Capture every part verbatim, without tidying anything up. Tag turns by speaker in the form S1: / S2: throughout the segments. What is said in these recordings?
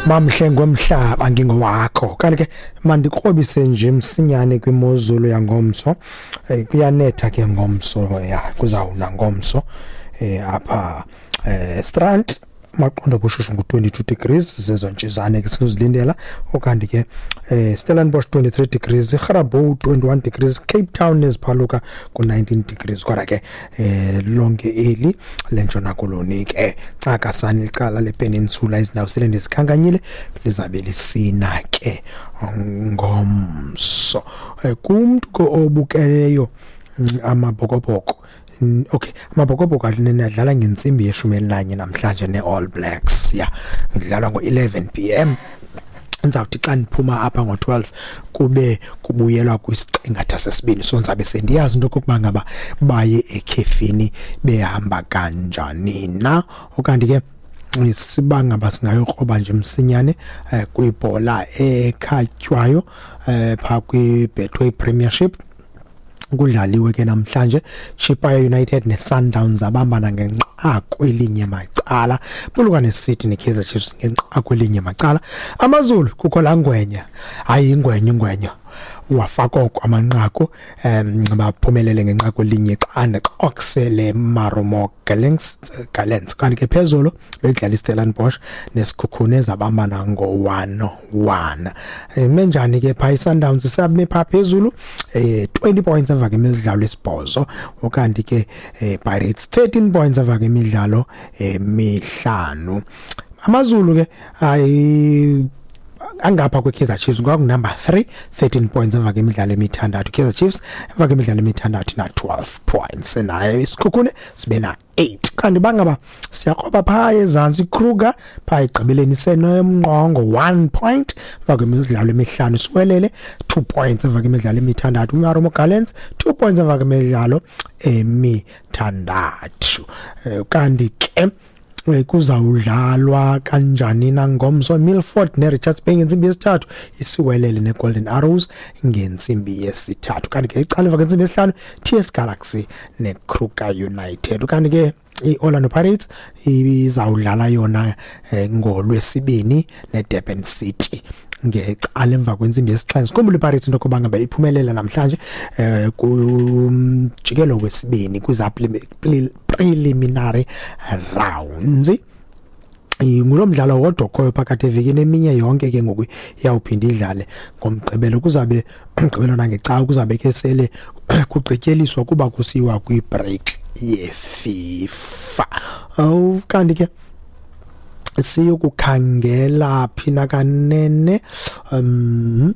S1: Mamhle ngomhlaba ngingowakho. Kanti ke mandikrobise nje msinyane kwimozulu yangomso. Eh, kuyanetha ke ngomso, ya, kuzawuna ngomso eh apha eh Strand. Maqondo bushushu ngu-twenty-two degrees, zezo ntshizane ke sinozilindela. Okanti ke eh Stellenbosch twenty-three degrees, Grabouw twenty-one degrees, Cape Town neziphaluka ku-nineteen degrees. Kodwa ke eh lonke eli lentshona koloni ke, ncakasana icala lepeninsula, izindawo sele ndizikhankanyile, lizabe lisina ke ngomso. Eh, kumntu ke obukeleyo mm, Amabhokobhoko, Mm, okay Amabhokobhoko alinene adlala ngentsimbi yeshumi elinanye namhlanje ne-All Blacks, ya, kudlalwa ngo-eleven p m. Ndizawuthi xa ndiphuma apha ngo-twelve kube kubuyelwa kwisiqingatha sesibini, so ndizabe sendiyazi into okokuba ngaba baye ekhefini behamba kanjani na. Okanti ke siba ngaba singayokroba nje msinyane eh, kwibhola ekhatywayo eh, phaa kwi-Betway Premiership, kudlaliwe ke namhlanje. Chippa United neSundowns abambana ngenqaku elinye macala, Polokwane City neKaizer Chiefs ngenqaku elinye macala. AmaZulu kukho laa ngwenya, hayi ingwenya, ingwenya wafaka oko amanqaku, um baphumelele ngenqaku elinye xa xokusele Marumo Gallants Gallants Kanti ke phezulu bekudlala iStellenbosch neSikhukhune, zabambana ngo-one one. Menjani ke phaa iSundowns? Isame phaa phezulu, eh twenty points emva kwemidlalo esibhozo. Ukanti ke eh, Pirates thirteen points emva kwemidlalo emihlanu. AmaZulu ke ayi angapha kwe-Kaizer Chiefs kwakunumber three, thirteen points emva kwemidlalo emithandathu. Kaizer Chiefs emva kwemidlalo emithandathu na twelve points, naye iSikhukhune sibe na eight. Kanti bangaba siyakroba phaa ezantsi, iKruger phaa egqibeleni senomnqongo, one point emva kwemidlalo emihlanu. Siwelele two points emva kwemidlalo emithandathu. UMarumo Gallants two points emva kwemidlalo emithandathu. Eh, kanti ke eh, kuzawudlalwa kanjani na ngomso? Milford neRichards Bay ngentsimbi yesithathu, iSiwelele neGolden Arrows ngentsimbi yesithathu. Kanti ke icala emva kwentsimbi yesihlanu, T S Galaxy neKruger United. Kanti ke iOrlando Pirates izawudlala yona eh, ngolwesibini neDurban City ngecala emva kwentsimbi yesixhenxe. Khumbula iPirates into yokuba ngaba iphumelela namhlanje eh kumjikelo wesibini kwiza preliminary rounds. Ngulo mdlalo wodwa okhoyo phakathi evekini, eminye yonke ke ngoku iyawuphinda idlale ngomgqibelo. Kuzabe umgqibelo nangecawa kuzabe ke sele kugqityeliswa kuba kusiwa kwi-break yeFIFA. Awu, kanti ke siyokukhangela phina kanene? um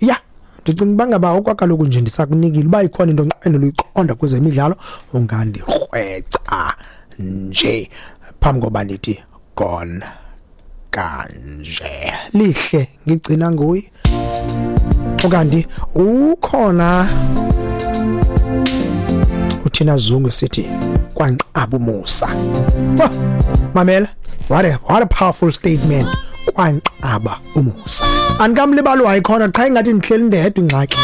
S1: ya ndicinga uba ngaba okwakaloku nje ndisakunikile uba ikhona into onqwenela uyiqonda kwezemidlalo, ungandikrweca nje phambi koba ndithi gone kanje. Lihle ngigcina nguye. Ukanti ukhona uThina Zungu, sithi kwanqaba umusa. Mamela, what a what a powerful statement, kwanqaba umusa. Andikamlibali, wayikhona qha ingathi ndihleli ndedwa ingxaki.